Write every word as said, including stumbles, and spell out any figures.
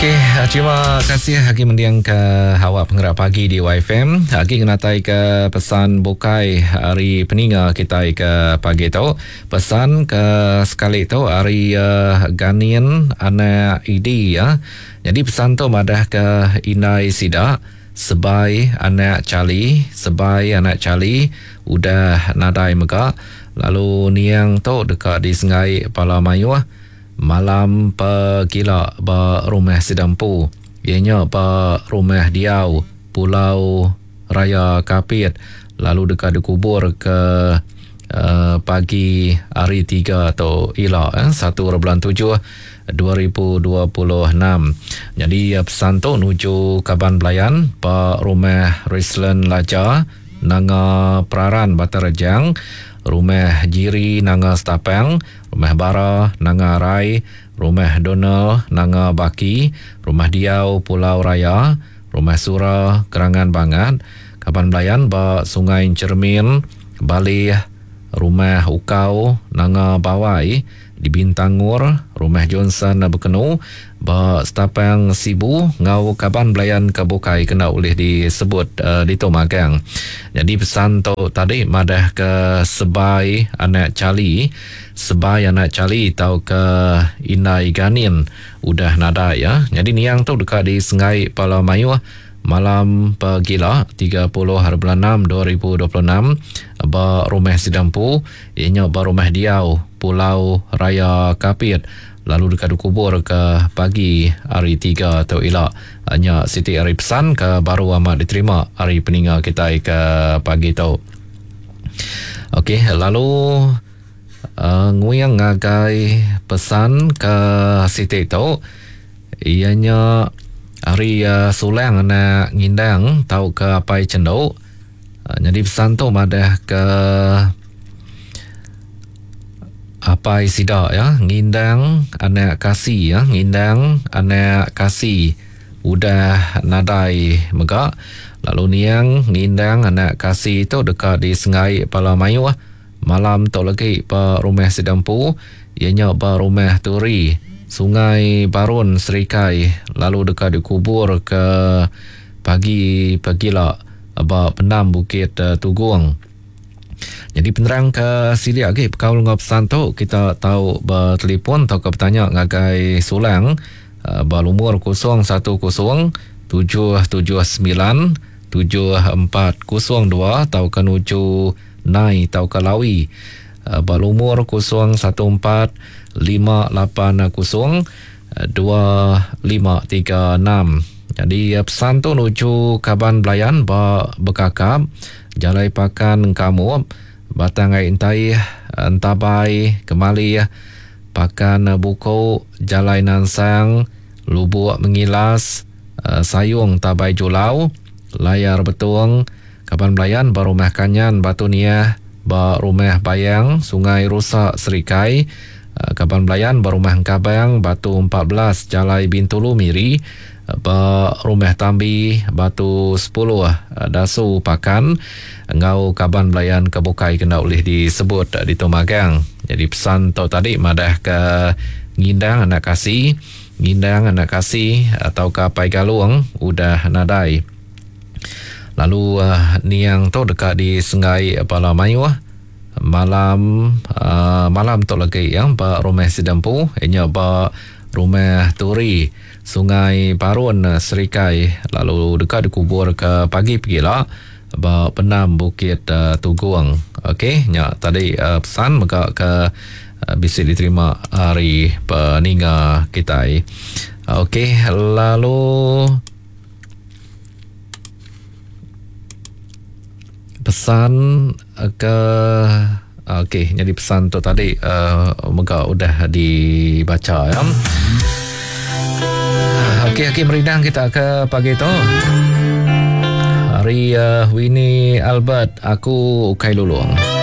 Okey, terima kasih agi mending ke awak penggerak pagi di Y F M. Agi ngenatai ke pesan bukai hari peninga kita ke pagi tu. Pesan ke sekali tu hari uh, Ganin anak Idi ya. Jadi pesan tu madah ke Indai Sida sebai anak Charlie, sebai anak Charlie udah nadai mega. Lalu niang tu dekat di Sengai Pala Mayuh malam pegila ba rumah Sidampu, ianya ba rumah Diau Pulau Raya Kapit, lalu dekat dikubur ke uh, pagi hari tiga tu ila eh, satu bulan tujuh dua ribu dua puluh enam. Jadi pesan tu nuju kaban belayan ba rumah Rislan Laja Nanga Peraran Batarejang, rumah Jiri Nanga Setapang, rumah Bara Nanga Rai, rumah Donald Nanga Baki, rumah Diau Pulau Raya, rumah Sura Kerangan Bangat, kaban belayan ba Sungai Cermin, Balih, rumah Ukau Nanga Bawai di Bintangur, rumah Johnson Bekenu ba Setapang Sibu, ngau kaban belayan ke bukai kena boleh disebut uh, di tu magang. Jadi pesan tu tadi madah ke sebai anak Charlie, sebai anak Charlie tau ke Indai Ganin udah nadai ya. Jadi niang tu dekat di Sengai Pala Mayuh malam pegila tiga puluh hari bulan enam dua ribu dua puluh enam ba rumah Sidampu, ianya ba rumah Diau Pulau Raya Kapit, lalu dekat dikubur ke pagi hari tiga tu ila. Nya siti hari pesan ke baru amat diterima hari peninga kita ke pagi tu. Okey, lalu uh, nguyang ngagai pesan ke siti tu, ianya hari uh, Sulang anak Ngindang tau ke Apai Cenduk. Uh, jadi pesan tu madah ke Apai Sida ya, Ngindang anak Kasi ya, Ngindang anak Kasi udah nadai mega. Lalu niang Ngindang anak Kasi tu dekat di Sengai Pala Mayuh malam tu lagi ba rumah Sidampu, ianya ba rumah Turi Sungai Barun Serikai, lalu dekat dikubur ke pagi pegila ba pendam Bukit Tugung. Jadi penerang ke silik lagi bekaul dengan pesan tu, kita tahu bertelefon atau ke bertanya ngagai Sulang ba lumur kosong satu kosong tujuh tujuh sembilan tujuh empat kosong dua atau ke nuju Nai atau ke Lawi ba lumur kosong satu empat lima lapan kosong dua lima tiga enam. Jadi pesan tu nuju kaban belayan ba Bekakap, Jalai Pakan Kamu, Batang Ai Entai, Entabai, Kemali, Pakan Buko, Jalai Nansang, Lubuk Mengilas, Sayung Tabai Julau, Layar Betung, kaban belayan ba Rumah Kanyan Batu Niah, ba Rumah Bayang, Sungai Rusak Serikai, kaban belayan ba Rumah Engkabang Batu empat belas Jalai Bintulu Miri, ba Rumah Tambi Batu sepuluh Dasu Pakan, engau kaban belayan kebukai kena boleh disebut di Tumagang. Jadi pesan tu tadi madah ke Ngindang anak Kasi, Ngindang anak Kasi atau ke Apai Galung udah nadai. Lalu uh, niang tu dekat di Sengai Pala Mayuh malam uh, malam tu lagi yang ba rumah Sidampu, ianya ba rumah Turi Sungai Barun Serikai, lalu dekat dikubur ke pagi pegila ba pendam Bukit uh, Tugung. Okey, nya tadi uh, pesan mega ke uh, bisi diterima hari peninga kita. Okey, lalu pesan ke okey, jadi pesan tu tadi uh, mega udah dibaca ya. Okey, okey, merindang kita ke pagi tu. Hari uh, Winnie Albert, aku Ukai Lulung.